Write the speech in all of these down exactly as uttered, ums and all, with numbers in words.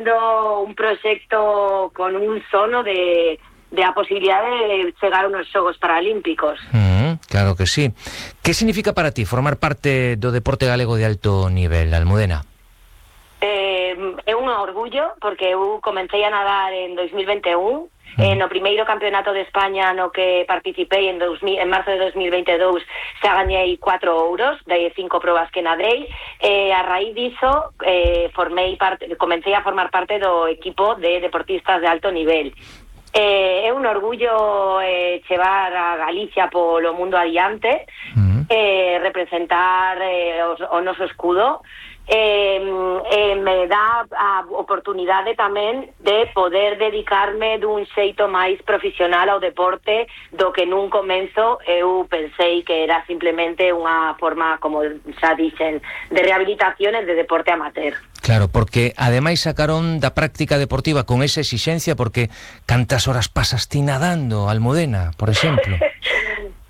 un proxecto con un sono de, de a posibilidade de chegar a unos Xogos Paralímpicos. Mm, claro que sí. Que significa para ti formar parte do deporte galego de alto nivel, Almudena? Eh, é un orgullo, porque eu comecei a nadar en dos mil vinte e un, mm. eh, no primeiro campeonato de España no que participei en, dos mil, en marzo de dos mil vinte e dous, xa gañei cuatro ouros de cinco probas que nadei, e eh, a raíz diso eh, formei parte, comecei a formar parte do equipo de deportistas de alto nivel. Eh, é un orgullo eh, chevar a Galicia polo mundo adiante, mm. eh, representar eh, os, o noso escudo. Eh, eh, me dá a oportunidade tamén de poder dedicarme dun xeito máis profesional ao deporte do que nun comenzo eu pensei que era simplemente unha forma, como xa dixen, de rehabilitación e de deporte amateur. Claro, porque ademais sacaron da práctica deportiva con esa exixencia, porque cantas horas pasas ti nadando, Almudena, por exemplo?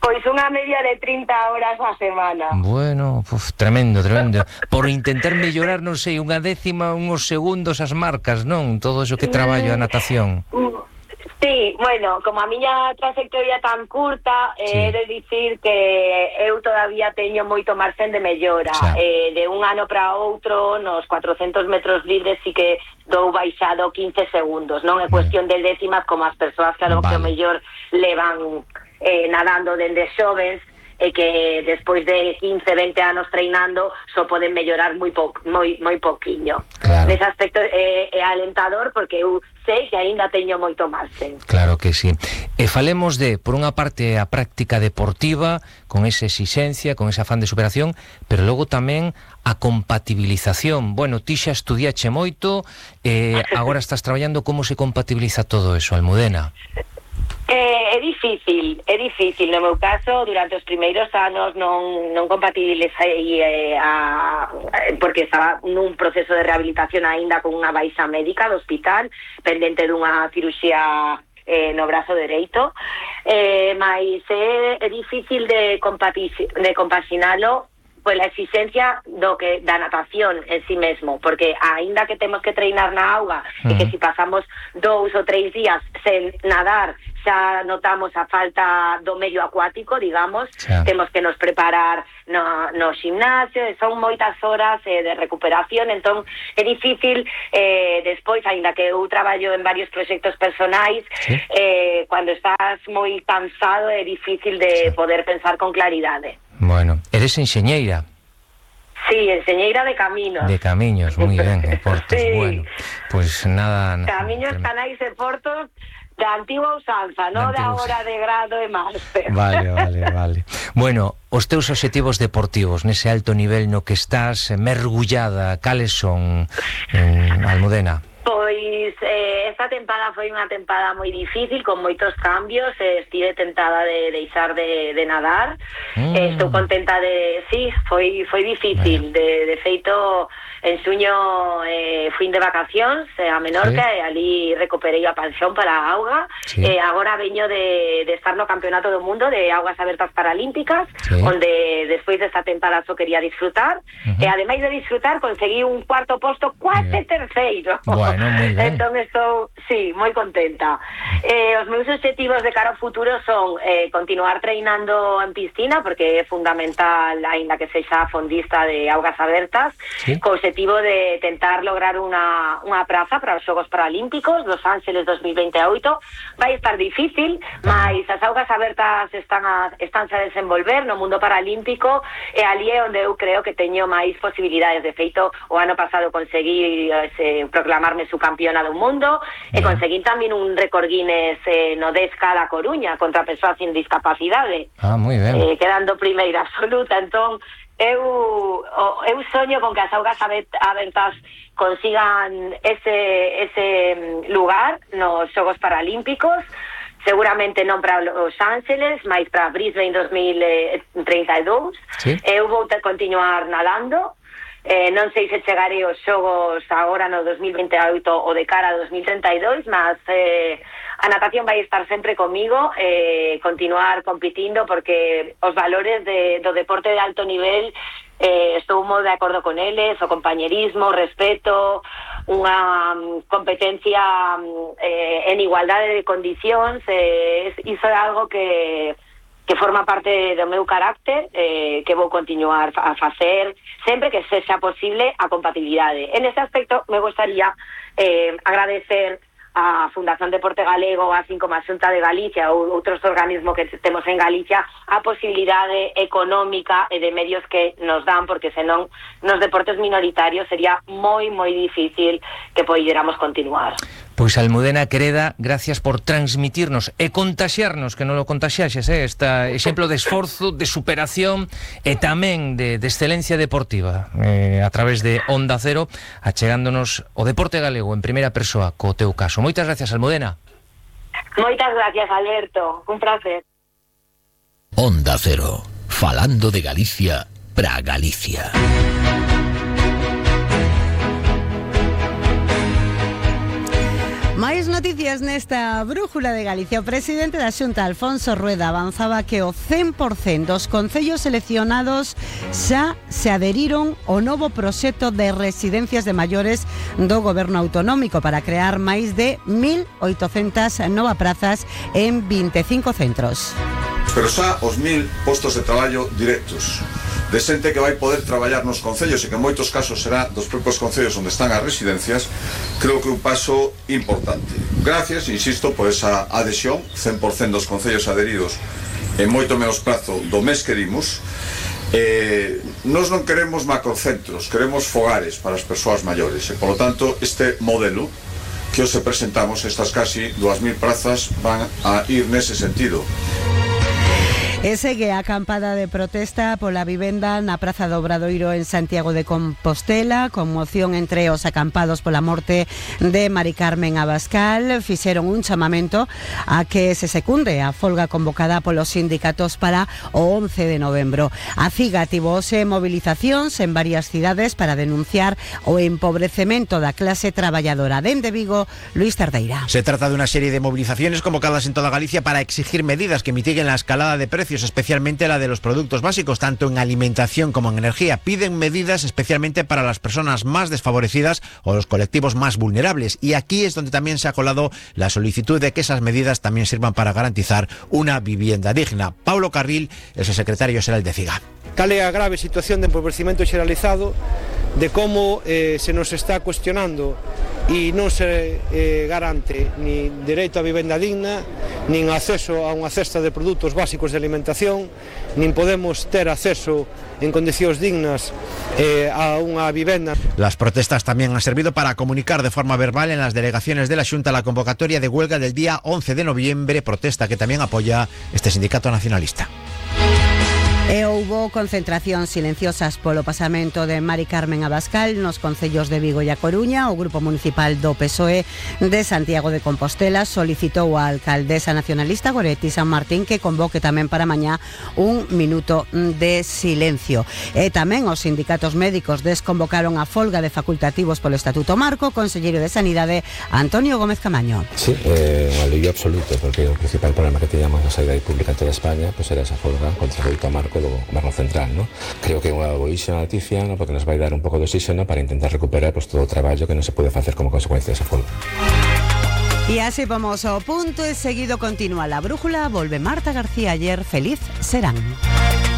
Pois unha media de trinta horas a semana. Bueno, uf, tremendo, tremendo. Por intentar mellorar, non sei, unha décima, uns segundos as marcas, non? Todo eso que traballo a natación. Sí, bueno, como a miña trayectoria tan curta, sí. eh, he de dicir que eu todavía teño moito marxen de mellora. Eh, de un ano para outro, nos cuatrocentos metros libres, sí que dou baixado quince segundos, non é cuestión de décimas como as persoas, claro, vale. Que o mellor levan eh, nadando dende xoves, e que despois de quince, veinte anos treinando só poden mellorar moi po, moi moi poquiño. Claro. Nese aspecto é, é alentador, porque eu sei que aínda teño moito marxen. Claro que sí. E falemos de, por unha parte, a práctica deportiva, con esa exigencia, con ese afán de superación, pero logo tamén a compatibilización. Bueno, ti xa estudiache moito, eh, agora estás traballando, como se compatibiliza todo eso, Almudena? Eh, é difícil, é difícil. No meu caso, durante os primeiros anos non, non compatibilizei eh, a, porque estaba nun proceso de rehabilitación aínda con unha baixa médica do hospital, pendente dunha cirurxía eh, no brazo dereito, eh, mas é, é difícil de, de compaxinalo pola exigencia do que da natación en sí mesmo, porque aínda que temos que treinar na auga, uh-huh. e que si pasamos dous ou tres días sen nadar xa notamos a falta do medio acuático, digamos, xa. Temos que nos preparar no, no gimnasio, e son moitas horas eh, de recuperación, entón é difícil eh, despois, aínda que eu traballo en varios proxectos personais, sí. eh, cando estás moi cansado é difícil de sí. poder pensar con claridade. Bueno, eres enxeñeira. Sí, enxeñeira de caminos. De camiños, moi ben, e portos, sí. Bueno, pois pues nada... Camiños, nada. Canais e portos da antigua usanza, non da hora de grado e máster. Vale, vale, vale. Bueno, os teus obxectivos deportivos nese alto nivel no que estás mergullada, cales son, en Almudena? Pois eh, esta tempada foi unha tempada moi difícil, con moitos cambios, eh, estive tentada de deixar de, de nadar, mm. eh, estou contenta de... Sí, foi, foi difícil, bueno. de, de feito, en xuño eh, fui de vacacións eh, a Menorca, sí. e ali recuperei a pensión para a auga, sí. eh, agora veño de, de estar no Campeonato do Mundo de Augas Abertas Paralímpicas, sí. onde despois desta tempada só quería disfrutar, uh-huh. e ademais de disfrutar conseguí un cuarto posto, quase terceiro. Bueno, moi ben. Entón estou, sí, moi contenta. Eh, os meus obxectivos de cara ao futuro son eh, continuar treinando en piscina, porque é fundamental, aínda que sexa fondista de augas abertas, sí. co obxectivo de tentar lograr unha, unha praza para os Xogos Paralímpicos Los Ángeles dos mil vinte e oito. Vai estar difícil, mas as augas abertas están a, estánse a desenvolver no mundo paralímpico, e ali é onde eu creo que teño máis posibilidades. De feito, o ano pasado conseguí eh, proclamarme subcampeona do mundo, e conseguí tamén un récord Guinness eh, no dez K da Coruña contra persoas sin discapacidade. Ah, moi ben. Eh, quedando primeira absoluta. Entón, eu, eu soño con que as augas abertas consigan ese, ese lugar nos Xogos Paralímpicos, seguramente non para Los Ángeles, mas para Brisbane dos mil trinta e dous. Sí. Eu vou ter continuar nadando. Eh, non sei se chegarei aos xogos agora no dos mil vinte e oito ou de cara a dos mil trinta e dous, mas eh, a natación vai estar sempre comigo, eh, continuar competindo, porque os valores de, do deporte de alto nivel eh, estou moi de acordo con eles, o compañerismo, o respeto, unha um, competencia um, eh, en igualdade de condicións, eh, iso é algo que que forma parte do meu carácter, eh, que vou continuar a facer sempre que sexa posible a compatibilidade. En ese aspecto me gustaría eh, agradecer a Fundación Deporte Galego, así como a Xunta de Galicia ou outros organismos que temos en Galicia, a posibilidade económica e de medios que nos dan, porque senón nos deportes minoritarios sería moi, moi difícil que poidéramos continuar. Pois Almudena Quereda, gracias por transmitirnos e contaxiarnos, que non lo contaxiaxes, eh, este exemplo de esforzo, de superación e tamén de, de excelencia deportiva eh, a través de Onda Cero, achegándonos o deporte galego en primeira persoa co teu caso. Moitas gracias, Almudena. Moitas gracias, Alberto. Un placer. Onda Cero, falando de Galicia pra Galicia. Máis noticias nesta Brújula de Galicia. O presidente da Xunta, Alfonso Rueda, avanzaba que o cen por cento dos concellos seleccionados xa se adheriron ao novo proxecto de residencias de maiores do Goberno Autonómico para crear máis de mil oitocentas novas prazas en vinte e cinco centros. Pero xa os mil postos de traballo directos de xente que vai poder traballar nos concellos e que en moitos casos será dos propios concellos onde están as residencias, creo que é un paso importante. Gracias, insisto, por esa adhesión, cen por cento dos concellos adheridos en moito menos prazo do mes que dimos. Eh, nos non queremos macrocentros, queremos fogares para as persoas maiores e, polo tanto, este modelo que hoxe presentamos, estas casi dúas mil prazas, van a ir nese sentido. E segue a acampada de protesta pola vivenda na Praza do Obradoiro en Santiago de Compostela, conmoción entre os acampados pola morte de Mari Carmen Abascal. Fixeron un chamamento a que se secunde a folga convocada polos sindicatos para o once de novembro. A CIGA tivo hoxe movilizacións en varias cidades para denunciar o empobrecemento da clase traballadora. Dende Vigo, Luis Tardeira. Se trata de unha serie de movilizaciones convocadas en toda Galicia para exigir medidas que mitiguen la escalada de precios, especialmente la de los productos básicos, tanto en alimentación como en energía. Piden medidas especialmente para las personas más desfavorecidas o los colectivos más vulnerables. Y aquí es donde también se ha colado la solicitud de que esas medidas también sirvan para garantizar una vivienda digna. Paulo Carril es el secretario xeral de CIGA. Cal é a grave situación de empobrecimento xeralizado, de como eh, se nos está cuestionando e non se eh, garante ni dereito a vivenda digna, nin acceso a unha cesta de produtos básicos de alimentación, nin podemos ter acceso en condicións dignas eh, a unha vivenda. Las protestas también han servido para comunicar de forma verbal en las delegaciones de la Xunta la convocatoria de huelga del día once de noviembre, protesta que también apoya este sindicato nacionalista. E houbo concentracións silenciosas polo pasamento de Mari Carmen Abascal nos concellos de Vigo e A Coruña. O Grupo Municipal do P S O E de Santiago de Compostela solicitou á alcaldesa nacionalista Goretti San Martín que convoque tamén para mañá un minuto de silencio. E tamén os sindicatos médicos desconvocaron a folga de facultativos polo Estatuto Marco. O conselleiro de Sanidade, Antonio Gómez Camaño. Sí, eh, un alivio absoluto, porque o principal problema que teníamos na sanidade pública en toda España pues era esa folga contra o Estatuto Marco do Goberno Central, ¿no? Creo que é unha boísima noticia, ¿no? Porque nos vai dar un pouco de oxígeno para intentar recuperar pues, todo o traballo que non se pode facer como consecuencia desa folga. E así vamos ao punto e seguido continúa la brújula. Volve Marta García ayer. Feliz serán.